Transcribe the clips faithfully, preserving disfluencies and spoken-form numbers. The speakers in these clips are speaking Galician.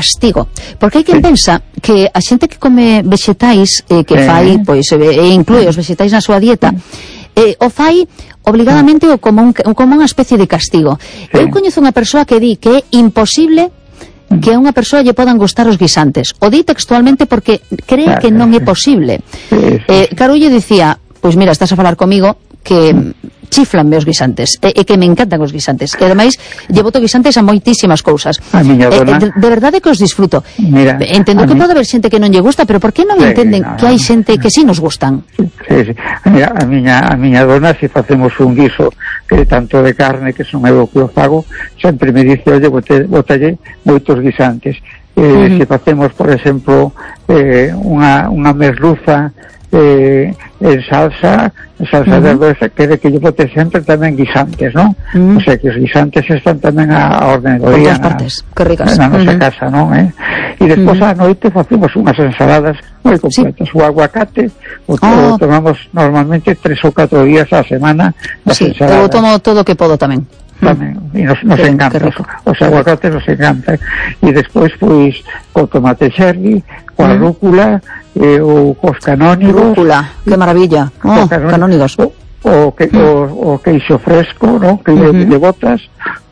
castigo, porque hai quen pensa que a xente que come vexetais eh, que fai, pois, e inclúe os vexetais na súa dieta, eh, o fai obligadamente ou como, un, como unha especie de castigo. Eu coñezo unha persoa que di que é imposible que a unha persoa lle podan gustar os guisantes. O di textualmente porque cree que non é posible. Eh, claro, lle dicía, pois mira, estás a falar comigo que chiflanme os guisantes, e, e que me encantan os guisantes, que ademais lle boto guisantes a moitísimas cousas. A miña dona, eh, de, de verdade que os disfruto. Mira, entendo que mi... pode haber xente que non lle gusta, pero por que non sí, entenden no, que hai xente que sí nos gustan? Sí, sí. Mira, a miña, a miña dona, se facemos un guiso que tanto de carne, que son eu que o fago, sempre me dice, oye, botalle moitos guisantes. Eh, uh-huh. Se facemos, por exemplo, eh, unha, unha merluza eh, en salsa, salsa uh-huh. de verduras, quere que lle bote sempre tamén guisantes, non? Uh-huh. O sea, que os guisantes están tamén a, a orden do día na, que ricas. na nosa uh-huh. casa, non? Eh? E despois uh-huh. a noite facemos unhas ensaladas moi completas. Sí. O aguacate o, oh. o tomamos normalmente tres ou catro días á semana das sí, ensaladas. Eu tomo todo o que podo tamén. Tamén, e nos, nos sí, encanta os aguacates, nos encanta. E despois, pois, co tomate cherry, coa mm. rúcula, eh, ou cos canónigos. Rúcula, que maravilla. Oh, canónigos. O, o, que, mm. o, o queixo fresco, ¿no? Que mm-hmm. de botas,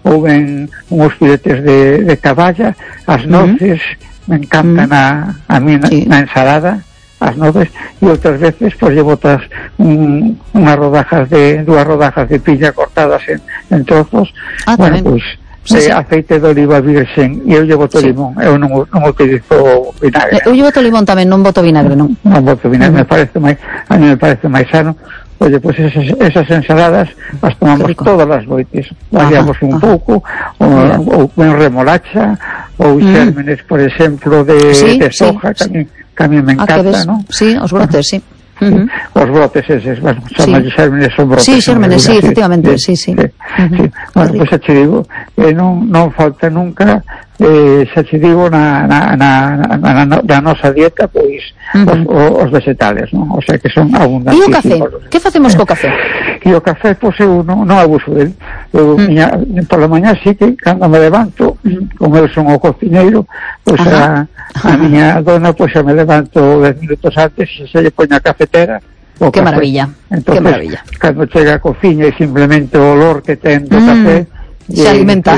ou ben uns filetes de, de caballa, as noces, mm. me encantan mm. a, a mí na, sí. na ensalada, as noces, e outras veces pois lle botas un, unhas rodajas de dúas rodajas de pilla cortadas en, en trozos. Ah, bueno, pois sí, sí. aceite de oliva virxen, e eu lle boto sí. limón, eu non, non utilizo vinagre. Eu lle boto limón tamén, non boto vinagre, non. Non boto vinagre, uh-huh. me parece máis, a mí me parece máis sano. Oye, pois pues esas, esas ensaladas as tomamos todas as noites, variamos un pouco, ou, ou ben remolacha, ou xérmenes, por exemplo, de, sí, de soja, sí, tamén, que a mí me encanta, ah, ¿no? Sí, os brotes, sí. Uh-huh. Os brotes eses, bueno, son sí. xérmenes, son brotes. Sí, xérmenes, sí, efectivamente, sí, sí. sí. Uh-huh. sí. Bueno, pois pues, xa che digo, eh, non, non falta nunca, eh, xa che digo, na, na, na, na, na, na nosa dieta, pois, uh-huh. os, os vegetales, non? O sea, que son abundantes. E o café? Que facemos co café? E o café, pois, eu non, non abuso del. Eu, uh-huh. miña, por la mañá, sí que, cando me levanto, como eu son o cocineiro, pois, uh-huh. a, a miña dona, pois, xa me levanto dez minutos antes, e xa lle poño a cafetera. Que café. Maravilla, entonces, que maravilla. Cando chega a cociña e simplemente o olor que ten do mm, café se eh, alimenta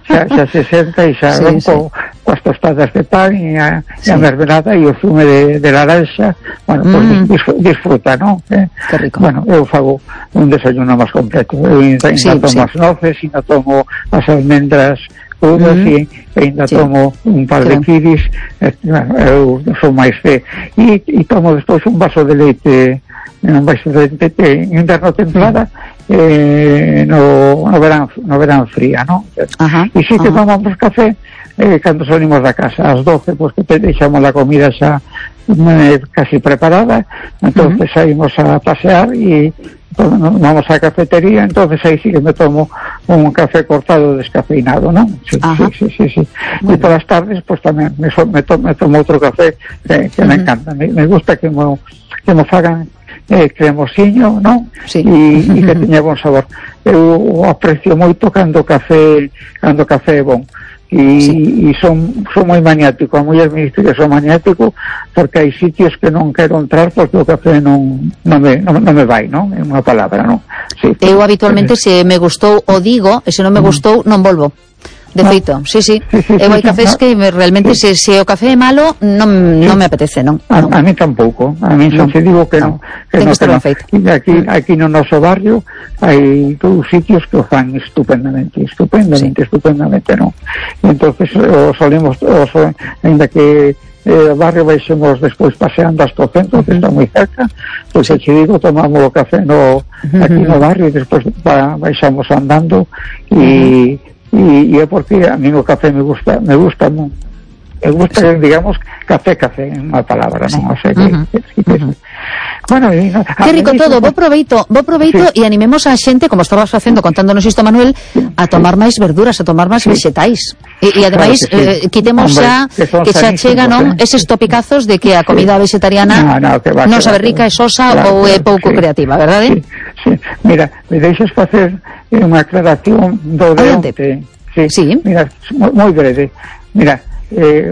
xa, xa se senta e xa sí, sí. co, coas tostadas de pan e a, sí. a mermelada e o zume de, de laranxa, bueno, mm. pues disfruta, non? Eh? Que rico. Bueno, eu fago un desayuno máis completo, eu ainda sí, tomo sí. as noces, ainda tomo as almendras crudas mm. e ainda sí. tomo un par de kiwis, eh, bueno, eu sou máis de e, e tomo despois un vaso de leite un vaso de leite en inverno templada, eh, no, no verán no verán fría, non? E si que tomamos café eh, cando salimos da casa ás doce, pois pues, que deixamos a comida xa eh, casi preparada, entonces uh-huh. saímos a pasear e vamos á cafetería, entonces aí sí que me tomo un café cortado descafeinado, non? Sí, sí, sí, sí, sí. E por as tardes, pois pues, tamén me, so, me, to, me tomo outro café que, que uh-huh. me encanta, me, me gusta que mo, que mo fagan eh, cremosiño, non? Sí. E, e que teña bon sabor. Eu aprecio moito cando o café cando o café é bon. E, sí. e son, son moi maniático, a muller me dice que son maniático porque hai sitios que non quero entrar porque o café non, non, me, non, non me vai, non? É unha palabra, non? Sí. Eu habitualmente se me gustou o digo e se non me gustou non volvo. De feito, no. sí, sí. sí, sí eu hai sí, cafés no. que me, realmente sí. se, se o café é malo non, sí. non me apetece, non? A, non. a mí tampouco, a mí non. se digo que non. Que Ten no, que estar ben feito. E aquí, aquí no noso barrio hai todos sitios que o fan estupendamente, estupendamente, sí. estupendamente, non? E entonces o solemos, o so, ainda que eh, o barrio baixemos despois paseando hasta o centro, uh-huh. que está moi cerca, pois pues, sí. digo, tomamos o café no, aquí uh-huh. no barrio e despois ba, baixamos andando e uh-huh. E, e é porque a mí o café me gusta, me gusta, me gusta, sí. digamos, café, café, en unha palabra, non? O sea que, uh-huh. que, que, que uh-huh. bueno, e, no, que rico todo, bo proveito, bo proveito sí. e animemos a xente, como estabas facendo contándonos isto, Manuel, a tomar máis verduras, a tomar máis sí. vegetais. E, e ademais, claro que sí. eh, quitemos xa que, que xa chega, non, eh? eses topicazos de que a comida sí. vegetariana no, no, va, non sabe rica, é sosa claro, ou é pouco sí. creativa, verdade? Sí, sí. Mira, me deixas facer unha aclaración do de onte. Sí. sí. Mira, moi breve. Mira, eh,